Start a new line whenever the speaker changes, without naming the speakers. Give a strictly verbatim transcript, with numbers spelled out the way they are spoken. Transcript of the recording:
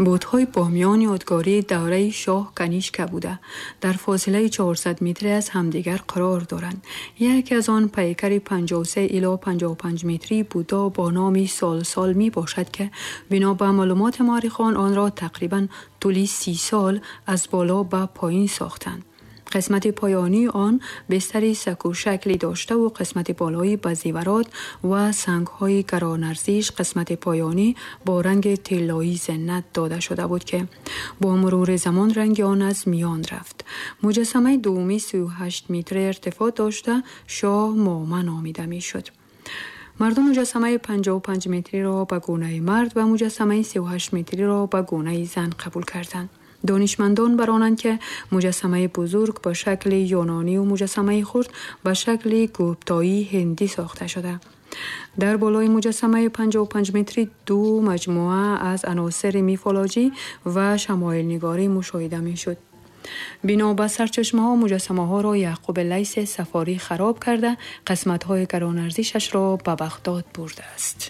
Бутҳои Помиён ёдгории давраи шоҳ Канишка буда, дар фосилаи чорсад метрӣ аз ҳамдигар қарор доранд. Яке аз он пайкари панҷоҳу се ило панҷоҳу панҷ метрии Буддо бо номи Сол-Сол ми бошад ки бино ба маълумоти муаррихон онро тақрибан тӯли си сол аз боло ба поён сохтанд. Қисмати поёнии он бистари сакӯшаклӣ дошта ва қисмати болоӣ ба зеварот ва сангҳои гаронарзиш, қисмати поёнӣ бо ранги тиллоӣ зинат дода шуда буд ки бо мурури замон ранги он аз миён рафт. Муҷассамаи дуввумӣ сию ҳашт метр иртифоъ дошта шоҳ Мома номида мешуд. Мардум муҷассамаи панҷоҳу панҷ метриро ба гунаи мард ва муҷассамаи сию ҳашт метриро ба гунаи зан қабул карданд. Донишмандон бар онанд ки муҷассамаи бузург ба шакли юнонӣ ва муҷассамаи хурд ба шакли гуптоии ҳиндӣ сохта шуда. Дар болои муҷассамаи панҷоҳу панҷ метрӣ ду маҷмӯа аз аносири мифологӣ ва шамоилнигорӣ мушоҳида мешуд. Бино ба сарчашмаҳо муҷассамаҳоро Яъқуб Лайси Сафорӣ хароб карда, қисматҳои гаронарзишашро ба Бағдод бурдааст.